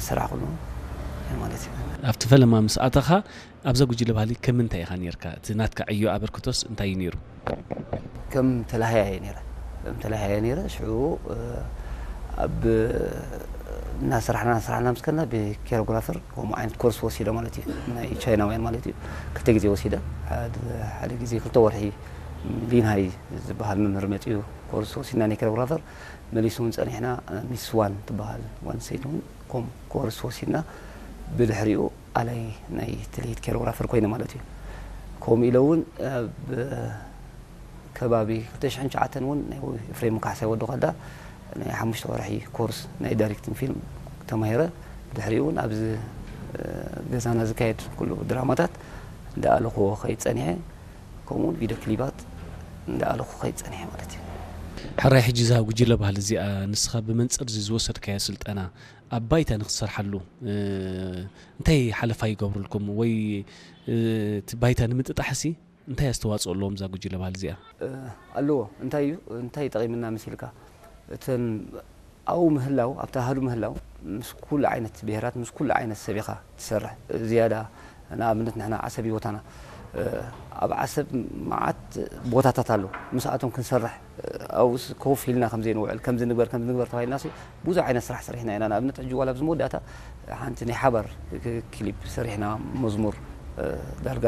ስራሕ ኩሉ ማለት እዩ። ኣብቲ ፈለማ ምስ ኣተኻ ኣብዛ ጉጅለ ባህሊ ከም ምንታይ ኢኻ ነርካ? እቲ ናትካ ዕዮ ኣበርክቶስ እንታይ እዩ ነይሩ? ከም ተላሃያ እየ ነረ ከም ተላሃያ ነረ ሽዑ ኣብ እናስራሕና እናስራሕና ምስ ከና ብኬሮግራፈር ከምኡ ዓይነት ኮርስ ወሲደ ማለት እዩ። ናይ ቻይናውያን ማለት እዩ። ክልተ ግዜ ወሲደ። ሓደ ግዜ ክልተ ወርሒ ሊንሃይ ዝበሃል መምህር መፅኡ ኮርስ ወሲድና ናይ ኬሮግራፈር። መሊሱ እውን ፀኒሕና ሚስ ዋን ትበሃል ዋን ሰይቲ እውን ከም ኮርስ ወሲድና። ብድሕሪኡ ኣላይ ናይ ትልሂት ኬሮግራፈር ኮይነ ማለት እዩ። ከምኡ ኢለ እውን ኣብ ከባቢ ክልተ ሽሕን ትሽዓተን እውን ናይ ኤፍሬም ካሕሳይ ወዲ ከዳ ናይ ሓሙሽተ ወርሒ ኮርስ ናይ ዳይሬክቲንግ ፊልም ተማሂረ። ብድሕሪኡ እውን ኣብዚ ገዛና ዝካየድ ኩሉ ድራማታት እንዳኣለኹዎ ከይድ ፀኒሐ። ከምኡውን ቪድዮ ክሊባት እንዳኣለኹ ከይድ ፀኒሐ ማለት እዩ። ሕራይ ሕጂ እዛ ጉጅለ ባህሊ እዚኣ ንስኻ ብመንፅር እዚ ዝወሰድካዮ ስልጠና ኣብ ባይታ ንክትሰርሓሉ እንታይ ሓለፋ ይገብሩልኩም ወይ እቲ ባይታ ንምጥጣሕሲ እንታይ ኣስተዋፅኦ ኣለዎም እዛ ጉጅለ ባህሊ እዚኣ? ኣለዎ። እንታይ እዩ እንታይ ጠቒምና መሲልካ እተን ኣብኡ ምህላው ኣብቲ ኣሃዱ ምህላው ምስ ኩሉ ዓይነት ብሄራት ምስ ኩሉ ዓይነት ሰብ ኢኻ ትሰርሕ። ዝያዳ ንኣብነት ንሕና ዓሰብ እዩ ቦታና። ኣብ ዓሰብ መዓት ቦታታት ኣሎ። ምስኣቶም ክንሰርሕ ኣብኡስ ኮፍ ኢልና ከም ዘይንውዕል ከምዚ ንግበር ከምዚ ንግበር ተባሂልና ብዙሕ ዓይነት ስራሕ ሰሪሕና ኢና። ንኣብነት ሕጂ ዋላ ኣብዚ መወዳእታ ሓንቲ ናይ ሓባር ክሊፕ ሰሪሕና መዝሙር ዳርጋ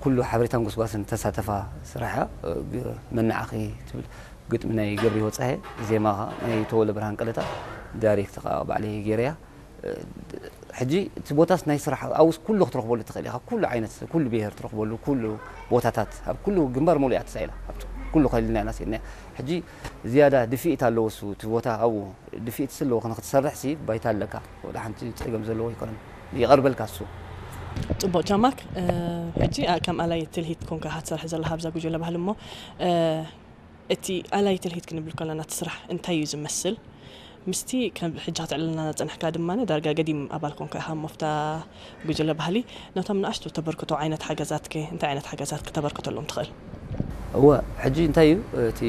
ኩሉ ሓበሬታን ጎስጓስን ተሳተፋ ስራሕ እያ። መናዓኺ ትብል ግጥሚ ናይ ገብሪ ወፀሀ ዜማ ናይ ተወለ ብርሃን ቀለታ ዳይሬክት ከዓ ባዕለይ ገይረያ። ሕጂ እቲ ቦታስ ናይ ስራሕ ኣብስ ኩሉ ክትረኽበሉ ትኽእል ኢኻ። ኩሉ ዓይነት ኩሉ ብሄር ትረኽበሉ ኩሉ ቦታታት ኣብ ኩሉ ግንባር መሉእ እያ ተሳኢላ። ኣብቲ ኩሉ ከሊልና ኢና ስኢልና። ሕጂ ዝያዳ ድፍኢት ኣለዎ እሱ እቲ ቦታ ኣብኡ ድፍኢት ስለዎ ንክትሰርሕ ሲ ባይታ ኣለካ። ወደ ሓንቲ ፀገም ዘለዎ ኣይኮነን ይቐርበልካ እሱ። ፅቡቅ ጃማክ። ሕጂ ከም ኣላይ ትልሂት ኮንካ ኢኻ ትሰርሕ ዘለኻ ኣብዛ ጉጅለ ባህሊ እሞ እቲ ኣላይ ትልሂት ክንብል ከለና እቲ ስራሕ እንታይ እዩ ዝመስል? ምስቲ ከም ሕጂ ክትዕልልና ዝጸናሕካ ድማ ዳርጋ ገዲም ኣባል ኮንካ ኢኻ እሞ ኣብታ ጉጅለ ባህሊ ነቶም ንኣሽቱ ተበርክቶ ዓይነት ሓገዛትከ እንታይ ዓይነት ሓገዛት ክተበርክተሎም ትኽእል? እወ ሕጂ እንታይ እዩ እቲ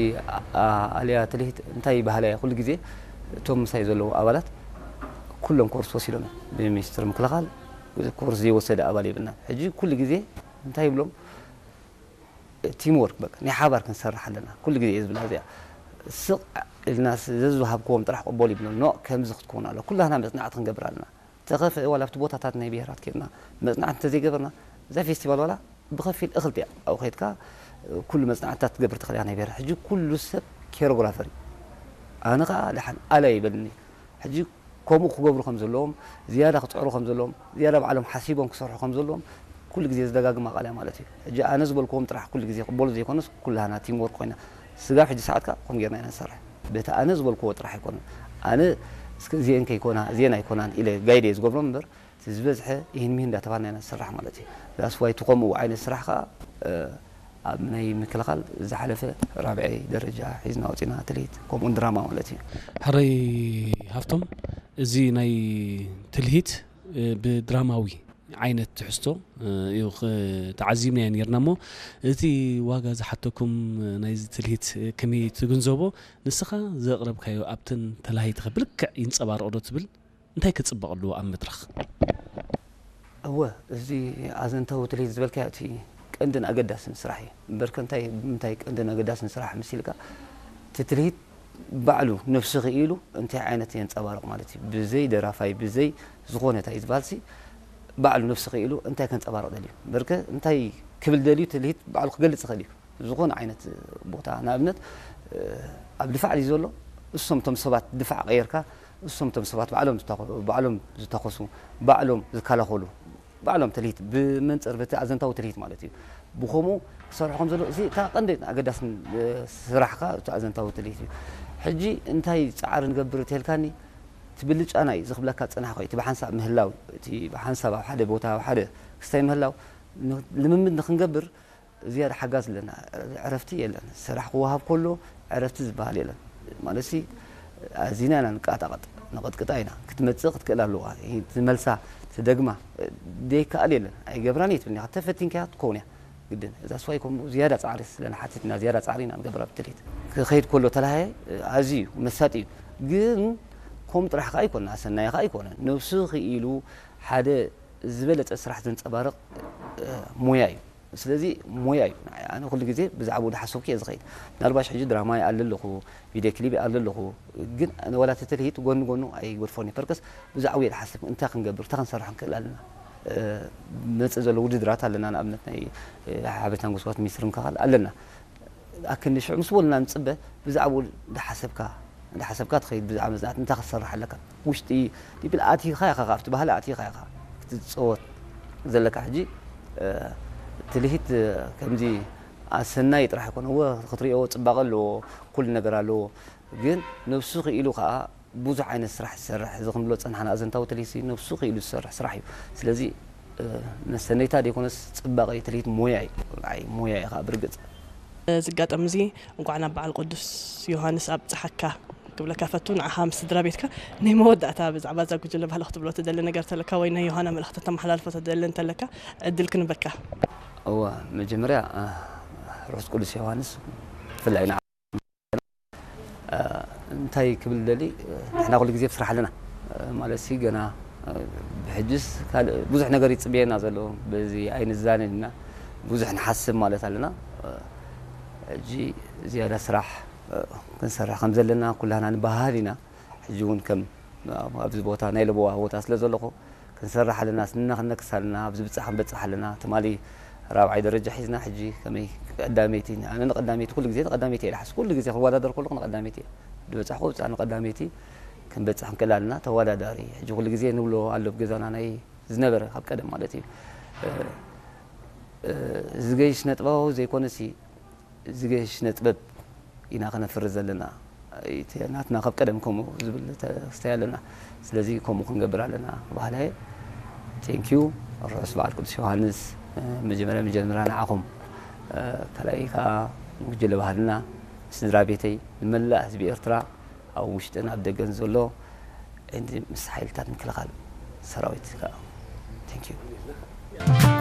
ኣልያ ትልሂት እንታይ ባህላ እያ ኩሉ ግዜ እቶም ምሳይ ዘለዉ ኣባላት ኩሎም ኮርስ ወሲዶም እዮም ብሚኒስትሪ ምክልኻል ኮርስ ዘይወሰደ ኣባል የብልና ሕጂ ኩሉ ግዜ እንታይ ይብሎም ቲም ወርክ በቃ ናይ ሓባር ክንሰርሕ ኣለና ኩሉ ግዜ እየ ዝብላ እዚኣ ስቕ ኢልና ዘዝሃብክዎም ጥራሕ ቅበሉ ይብሎም ኖ ከምዚ ክትከውን ኣሎ ኩላህና መፅናዕቲ ክንገብር ኣለና ተኸፍአ ዋላ ኣብቲ ቦታታት ናይ ብሄራት ኬድና መፅናዕቲ እንተዘይገበርና እዛ ፌስቲቫል ዋላ ብኸፊል እኽልቲ እያ ኣብኡ ከይድካ ኩሉ መፅናዕትታት ትገብር ትኽእል እያ ናይ ብሄራት ሕጂ ኩሉ ሰብ ኬሮግራፈር እዩ ኣነ ከዓ ደሓን ኣለ ይበልኒ ሕጂ ከምኡ ክገብሩ ከም ዘለዎም ዝያዳ ክፅዕሩ ከም ዘለዎም ዝያዳ ባዕሎም ሓሲቦም ክሰርሑ ከም ዘለዎም ኩሉ ግዜ ዝደጋግማ ቃል እያ ማለት እዩ ሕጂ ኣነ ዝበልክዎም ጥራሕ ኩሉ ግዜ ክበሉ ዘይኮነስ ኩላና ቲም ወርክ ኮይና ስጋብ ሕጂ ሰዓት ከዓ ከም ጌርና ኢና ንሰርሕ በቲ ኣነ ዝበልክዎ ጥራሕ ኣይኮነን ኣነ እስከ እዚአን ከይኮና እዚአን ኣይኮናን ኢለ ጋይድ እየ ዝገብሮም እምበር እቲ ዝበዝሐ ይህን ሚህን እንዳተባልና ኢና ንሰርሕ ማለት እዩ that's why እቲ ከምኡ ዓይነት ስራሕ ከዓ ኣብ ናይ ምክልኻል ዝሓለፈ ራብዐይ ደረጃ ሒዝና ወፂና ትልሂት ከምኡን ድራማ ማለት እዩ። ሕረይ ሃፍቶም፣ እዚ ናይ ትልሂት ብድራማዊ ዓይነት ትሕዝቶ እዩ ተዓዚብናዮ ነርና እሞ እቲ ዋጋ ዝሓተኩም ናይዚ ትልሂት ከመይ ትግንዘቦ ንስኻ ዘቕረብካዮ ኣብተን ተላሃይትኸ ብልክዕ ይንፀባረቕ ዶ ትብል እንታይ ክፅበቕ ኣለዎ ኣብ መድረኽ? እወ እዚ ኣዘንታዊ ትልሂት ዝበልካዮ እቲ ቀንድን ኣገዳስን ስራሕ እዩ እምበርከ እንታይ ብምንታይ ቀንድን ኣገዳስን ስራሕ መሲልካ እቲ ትልሂት ባዕሉ ነፍሲ ክኢሉ እንታይ ዓይነት የንፀባርቕ ማለት እዩ ብዘይ ደራፋይ ብዘይ ዝኾነ እንታይ ዝበሃል ሲ ባዕሉ ነፍሲ ክኢሉ እንታይ ከንፀባርቕ ደልዩ እምበርከ እንታይ ክብል ደልዩ ትልሂት ባዕሉ ክገልፅ ይኽእል እዩ ዝኾነ ዓይነት ቦታ ንኣብነት ኣብ ድፋዕ ድዩ ዘሎ እሶም እቶም ሰባት ድፋዕ ቀየርካ እሶም እቶም ሰባት ባዕሎም ባዕሎም ዝተኮሱ ባዕሎም ዝከላኸሉ ባዕሎም ትልሂት ብመንፅር በቲ ኣዘንታዊ ትልሂት ማለት እዩ ብከምኡ ክሰርሑ ከም ዘሎ እዚ እታ ቀንዲ ኣገዳስን ስራሕካ እቲ ኣዘንታዊ ትልሂት እዩ ሕጂ እንታይ ፃዕሪ ንገብር ተልካኒ ትብልጫና እዩ ዝክብለካ ፅናሕ ኮይ እቲ ብሓንሳብ ምህላው እቲ ብሓንሳብ ኣብ ሓደ ቦታ ኣብ ሓደ ክስታይ ምህላው ልምምድ ንክንገብር ዝያዳ ሓጋዝ ኣለና። ዕረፍቲ የለን። ስራሕ ክወሃብ ከሎ ዕረፍቲ ዝበሃል የለን። ማለትሲ ኣዚና ኢና ንቃጣቐጥ፣ ንቕጥቅጣ ኢና። ክትመጽእ ክትክእል ኣለዋ። እቲ መልሳ፣ እቲ ደግማ፣ ደይከኣል የለን። ኣይገብራን እየ ትብልኒ ኢኻ። ተፈቲንካያ ትከውን እያ ግድን። እዛ ስዋይ ከምኡ ዝያዳ ጻዕሪ ስለ ንሓትት ኢና ዝያዳ ጻዕሪ ኢና ንገብር ኣብ ትልሂት። ክኸይድ ከሎ ተላሃየ ኣዝዩ እዩ መሳጢ እዩ። ግን ከምኡ ጥራሕ ከኣ ኣይኮነን፣ ኣሰናይ ከኣ ኣይኮነን። ነብሱ ክኢሉ ሓደ ዝበለጸ ስራሕ ዘንጸባርቕ፣ እ፣ ሞያ እዩ። ስለዚ ሞያ እዩ። ኣነ ኩሉ ግዜ ብዛዕባኡ ዝሓሰብኩ እየ ዝኸይድ። ምናልባሽ ሕጂ ድራማ ይኣሊ ኣለኹ፣ ቪድዮ ክሊፕ ይኣሊ ኣለኹ፣ ግን ኣነ ዋላ እቲ ትልሂት ጎኒ ጎኑ ኣይገድፎን እየ። ፐርከስ ብዛዕባኡ እየ ዝሓስብ፣ እንታይ ክንገብር፣ እንታይ ክንሰርሕ ንክእል ኣለና። እ፣ መጽእ ዘሎ ውድድራት ኣለና፣ ንኣብነት ናይ፣ እ፣ ሓበሬታን ጎስጓስ ሚኒስትሪ ምክልኻል ኣለና። ኣክንዲ ሽዑ ምስ በሉና ንጽበ፣ ብዛዕባኡ እንዳሓሰብካ፣ እንዳሓሰብካ ትኸይድ፣ ብዛዕባ መጽናዕቲ እንታይ ክትሰርሕ ኣለካ። ውሽጢ ዲብል ኣቲኻ ኢኻ፣ ካብቲ ባህሊ ኣቲኻ ኢኻ ክትጸወት ዘለካ። ሕጂ፣ እ፣ ትልሂት፣ እ፣ ከምዚ ኣሰናይ ጥራሕ ኣይኮነ። እወ፣ ክትሪኦ ጽባቐ ኣለዎ፣ ኩሉ ነገር ኣለዎ። ግን ነብሱ ክኢሉ ከኣ ብዙሕ ዓይነት ስራሕ ዝሰርሕ፣ እዚ ክንብሎ ዝጸናሕና ኣዘንታዊ ትልሂት ነብሱ ክኢሉ ዝሰርሕ ስራሕ እዩ። ስለዚ፣ እ፣ መሰነይታ ደይኮነስ ጽባቐ ትልሂት ሞያ እዩ። ንዓይ ሞያ እዩ ከኣ ብርግጽ። እዚ ኣጋጣሚ እዚ እንኳዕ ናብ በዓል ቅዱስ ዮሃንስ ኣብጽሓካ ክብለካ ፈቱ። ንዓኻ ምስ ስድራ ቤትካ ናይ መወዳእታ ብዛዕባ እዛ ጉጅለ ባህሊ ክትብሎ ትደሊ ነገር ተለካ ወይ ናይ ዮሃና መልእኽቲ ተመሓላልፎ ትደሊ እንተለካ ዕድል ክንበካ። እወ፣ መጀመርያ፣ እ፣ ርሑስ ቅዱስ ዮሃንስ ብፍላይ ንዓ-፣ እ፣ እንታይ ክብል ደሊ፣ እ፣ ንሕና ኩሉ ግዜ ኣብ ስራሕ ኣለና። እ፣ ማለት ሲ ገና፣ እ፣ ብሕጅስ ካልእ ብዙሕ ነገር ይጽበየና ዘሎ፣ በዚ ኣይንዛነን ኢና፣ ብዙሕ ንሓስብ ማለት ኣለና። እ፣ ሕጂ ዝያዳ ስራሕ፣ እ፣ ክንሰርሕ ከም ዘለና ኩላህና ንበሃል ኢና። ሕጂ እውን ከም ኣብ-፣ ኣብዚ ቦታ ናይ ለበዋ ቦታ ስለ ዘለኹ ክንሰርሕ ኣለና፣ ስንና ክንነክስ ኣለና፣ ኣብዚ ብጻሕ ክንበጽሕ ኣለና። ትማሊ ራብዓይ ደረጃ ሒዝና ሕጂ ከመይ ቀዳመይቲ፣ ኣነ ንቀዳመይቲ ኩሉ ግዜ ንቀዳመይቲ እየ ዝሓስብ። ኩሉ ግዜ ክወዳደር ከለኹ ንቀዳመይቲ እየ ዝበጻሕኩ፣ ብጻሕ ንቀዳመይቲ ክንበጽሕ ክንክእል ኣለና። ተወዳዳሪ ሕጂ ኩሉ ግዜ ንብሎ ኣሎ ኣብ ገዛና ናይ ዝነበረ ካብ ቀደም ማለት እዩ። እ፣ እ፣ ዝገይሽ ነጥባዊ ዘይኮነሲ ዝገሽ ስነ ጥበብ ኢና ከነፍሪ ዘለና። እቲ ናትና ካብ ቀደም ከምኡ ዝብል ተስተይ ኣለና። ስለዚ ከምኡ ክንገብር ኣለና ባህላየ። ቴንኪዩ። ርሑስ በዓል ቅዱስ ዮሃንስ። እ፣ መጀመርያ መጀመርያ ንዓኹም፣ እ፣ ካልኣይ ከዓ ንጉጅለ ባህልና፣ ስድራ ቤተይ፣ ንመላእ ህዝቢ ኤርትራ ኣብ ውሽጥን ኣብ ደገን ዘሎ፣ እንዲ ምስ ሓይልታት ምክልኻል ሰራዊት ከዓ ቴንኪዩ።